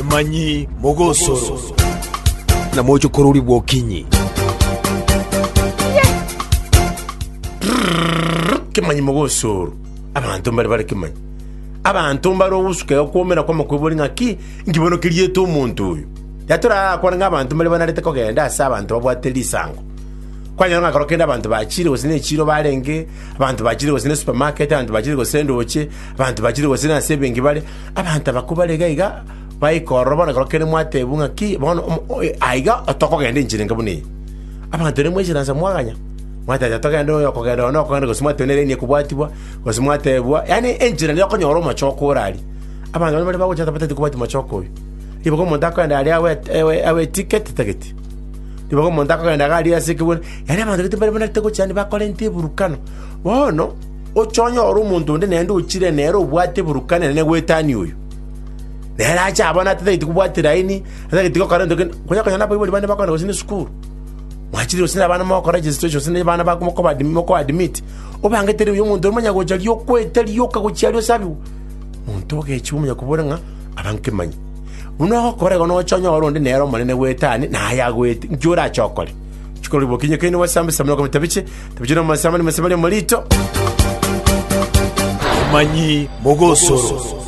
Kemanyi mogosoro na mochokorori bw'okinyi. Kemanyi mogosoro abanto mbare bare kemanyi abanto mbare ogosuka iga kwomera kw'amakwebori ng'aki inki bono keriete omonto oyo ya torakwane ng'a abanto mbare banarete kogenda ase abanto babwate risango kwanyora ng'a kero kende abanto bachire gose ne echiro barenge abanto bachire gose ne supermarket abanto bachire gose ndoche abanto bachire gose nase ebenki bare abanto abakwo bare iga iga baika ororo bono ekero kende mwatebwa ng'aki bono omo oyo aiga tokogenda enchera enke buna eye. Abanto rende mwaisaransa mwaganya, mwateba togende oyo okogenda oyo nokogenda gose mwateba nere enie ekobwatibwa, gose mwatebwa yaani enchera nigo okonyora omochoko ore aria. Abanto baria bare bagocha batagete kobwatia omochoko oyio. Ribaga omonto akogenda aria awe awe awe eticket tatageti, ribaga omonto akogenda iga aria ase ekebuna, yaani abanto gete mbare banarete gocha yaani bakorenta eburukano. Bono, oche onyore omonto onde naende ochire nere obwate eburukano enene goetania oyo. Nere ache abone atatageti kobwatia laini, atageti gokora egento kende, konya konya nabaibori bande bakogenda gose na esukuru, mwachire gose na abana mogokora registration gose na abana bako mokoba moko admit, obangete ribuya omonto oria omanya gocha riria okwete rioka gochia aria osabiwe, monto ogechiwa omanya kobora ng'a aba nkemanyie. Buna ogokora igo noche onyore onde nere omonene goetania naye agoete, nki orache okore? Chikoro ribokinye keino gwasambe sambe nokometa biche, tabiche na omosamani mosamani omorito. Omanyi mogosoro.